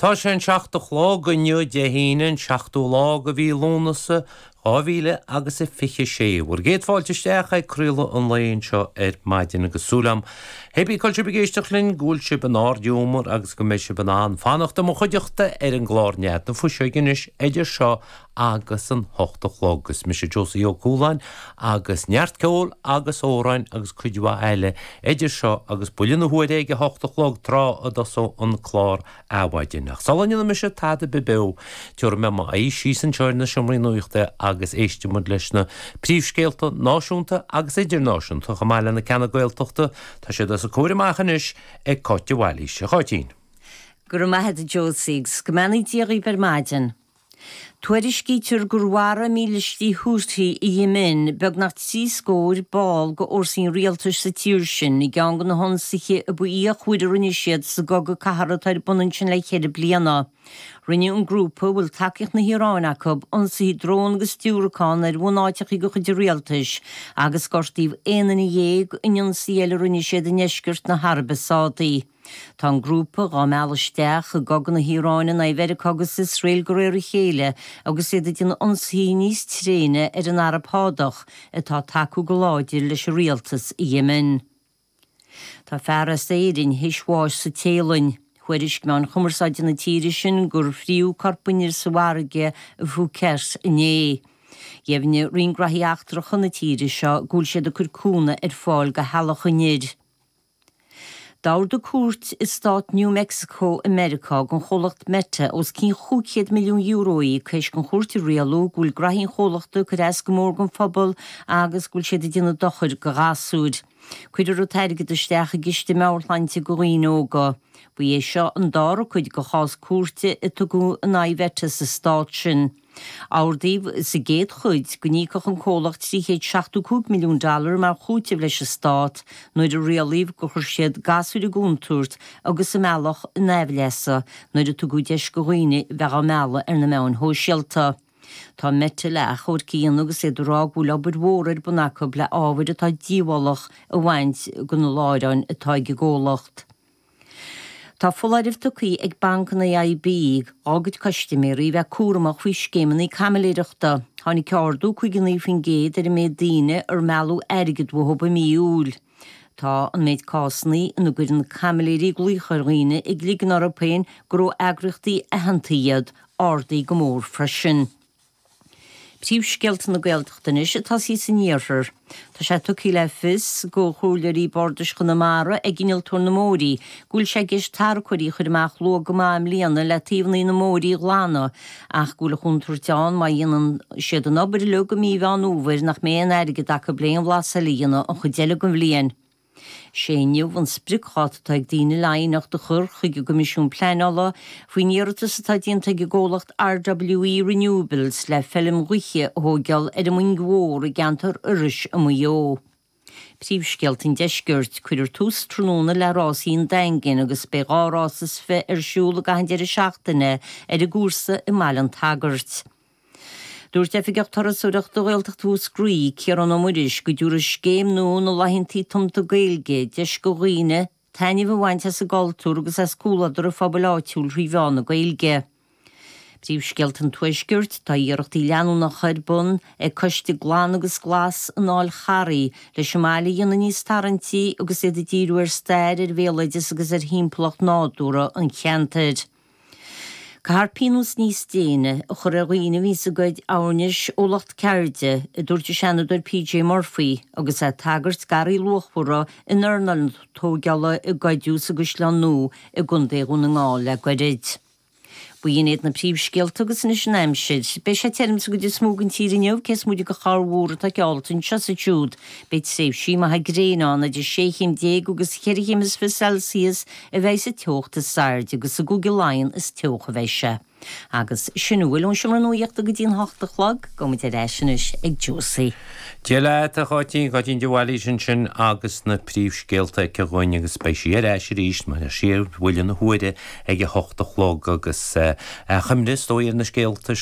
Tá sé an 7 a chlog inniu, Dé hAoine, an seachtú lá de mhí Lúnasa, 2000 agus a 26. Bhur gcéad fáilte isteach ag craoladh an lae anseo ar maidin agus súil agam, hé brí cá bhfuil sibh ag éisteacht linn, go bhfuil sibh in ard-ghiúmar agus go mbeidh sibh in ann fanacht i mo chuideachta ar an gclár Nead na Fuiseoige anois idir seo agus an hocht a chlog. Is mise Josie Ó Cualáin agus neart ceoil agus amhráin agus cuid mhaith eile idir seo agus buille na huaire ag a hocht a chlog tráth a dtosóidh an clár Adhmhaidin. Ach sula ndéanfaidh mise tada ar bith beo, tabharfaidh mé m'aghaidh síos anseo ar na seomraí nuachta agus éistfidh muid leis na príomhscéalta náisiúnta agus idirnáisiúnta chomh maith le na ceanna Gaeltachta. Tá siad os a comhair amach anois ag Cáit de Bhailís. A Cháitín. Go raibh maith agat a Josie agus go mbeannaí Dia dhaoibh ar maidin. Tuairiscítear gur mharaigh mílístí Houthi i Yemen beagnach 30 scór ball de fhórsaí an rialtais sa tír sin i gceann de na hionsaithe a ba fhíochmhaire a rinne siad sa gcogadh cathartha atá ar bun ansin le ceithre bliana. Rinne an grúpa, a bhfuil tacaíocht na hIaráine acu, ionsaithe drón agus diúracán ar bhunáiteacha de chuid an rialtais agus gortaíodh aon duine dhéag in ionsaí eile a rinne siad i ndeisceart na hAraibe Sádaí. Tá an grúpa dhá mealladh isteach i gcogadh na hIaráine in aghaidh Mheiriceá agus Iosrael de réir a chéile agus iad ag déanamh ionsaithe níos tréine ar an Araib Shádach atá ag tacú go láidir leis an rialtas i Yemen. Tá fear as Éirinn théis bháis sa Téalainn. Thuairisc meáin chumarsáide na tíre sin gur fríodh corp an fhir sa bhfarraige i Phuket inné. Dheimhnigh Roinn Graithí Eachtracha na tíre seo go bhfuil siad ag cur cúnamh ar fáil do theaghlach an fhir. D'ordaigh cúirt i stát New Mexico i Meiriceá don chomhlacht Meta os cionn €500 milliún a íoc théis don chúirt a rialú go bhfuil graithí an chomhlachta ag cur as go mór don phobal agus go bhfuil siad ag déanamh dochair do ghasúir. Cuirfear an t-airgead isteach i gciste meabhairshláinte do dhaoine óga. Ba é seo an dara cuid de chás cúirte a tugadh in aghaidh Mheta sa stát sin. Ordaíodh sa gcéad chuid go n-íocfadh an comhlacht 375 milliún dollar mar chúiteamh leis an stát nuair a rialaíodh gur chuir siad gasúir i gcontúirt agus a mbealach in aimhleasa nuair a tugadh deis do dhaoine bheith á mealladh ar na meáin shóisialta. Tá Meta le achomharc a dhéanamh agus iad ag rá go bhfuil obair mhór ar bun acu le ábhair atá díobhálach a bhaint de na láithreáin atá ag an gcomhlacht. Tá foláireamh tugtha ag banc an AIB dá gcuid custaiméirí bheith cúramach faoi scéimeanna caimiléireachta. Tháinig ardú 59% ar an méid daoine ar mealladh airgead uathu i mí Iúil. Tá an méid cásanna ina gcuireann caimiléirí glaoch ar dhaoine ag ligean orthu féin gur ó eagraíochtaí aitheanta iad, ardaithe go mór freisin. Príomhscéalta na Gaeltachta anois ag tosaí san iarthar. Tá sé tugtha le fios do Chomhairleoirí Bardais Chonamara ag Innealtóir na mBóithrí go bhfuil sé i gceist tarracóirí a chur amach luath go maith i mbliana le taobhanna na mbóithrí a ghlanadh ach go bhfuil an chontúirt ann má dhéanann siad an obair uilig i mí Mheán Fhómhair nach mbeidh aon airgead acu le aon bhlas eile a dhéanamh an chuid eile den bhliain. Sé inniu an spriocdháta atá ag daoine le aighneacht a chur chuig an gCoimisiún Pleanála faoin iarratas atá déanta ag an gcomhlacht RWE Renewables le feilm ghaoithe a thóigeáil ar an Mhoing Mhór i gceantar Iorrais i Maigh Eo. Príomhscéalta an Deiscirt, Cuirfear tús tráthnóna le rásaí an Daingin agus beidh dhá rás is fiche ar siúl i gcaitheamh an deireadh seachtaine ar an gcúrsa i mBaile an tSagairt. Dúirt Oifigeach Turasóireachta Ghaeltacht Mhúscraí, Ciarán Ó Muiris, go dtabharfaidh scéim nua na Laethanta Tumta Gaeilge deis do dhaoine taitneamh a bhaint as an gcultúr agus as comhluadar an phobail áitiúil thrí mheán na Gaeilge. Príomhscéalta an Tuaiscirt, Tá iarrachtaí leanúnacha ar bun ag Coiste Glan agus Glas an Fháil Charraigh leis an mbaile a dhéanamh níos tarraingtí agus iad ag díriú ar stair, ar bhéaloideas agus ar thimpeallacht nádúrtha an cheantair. Caithfear pionós níos déine a chur ar dhaoine a bhíonns ag goid airneáis ó lucht ceirde, a dúirt an Seanadóir PJ Murphy agus é ag tagairt d'earraí luachmhara in earnáil na tóigeála a goideadh sa gCaisleán Nua i gContae Dhún na nGall le goirid. B'in iad na príomhscéalta agus anois an aimsir. Beidh sé tirim sa gcuid is mó den tír inniu, cé is móide de chorrmhúr atá geallta anseo is ansiúd. Beidh tréimhsí maithe gréine ann, idir sé chéim déag agus cheithre chéim is fiche Celsius a bheidh sa teocht is airde agus i gCúige Laighean is teocha a bheidh sé. Agus sin a bhfuil ón seomra nuaíochta go dtí an hocht a chlog. Gabhfaidh muid ar ais anois ag Josie. Dia leat, a Cháitín, Cáitín de Bhailís ansin agus na príomhscéalta aici dhúinn agus beidh sí ar ais arís mar a deir sí ar bhuille na huaire ag a hocht a chlog agus achoimre is dóigh ar na scéalta sin.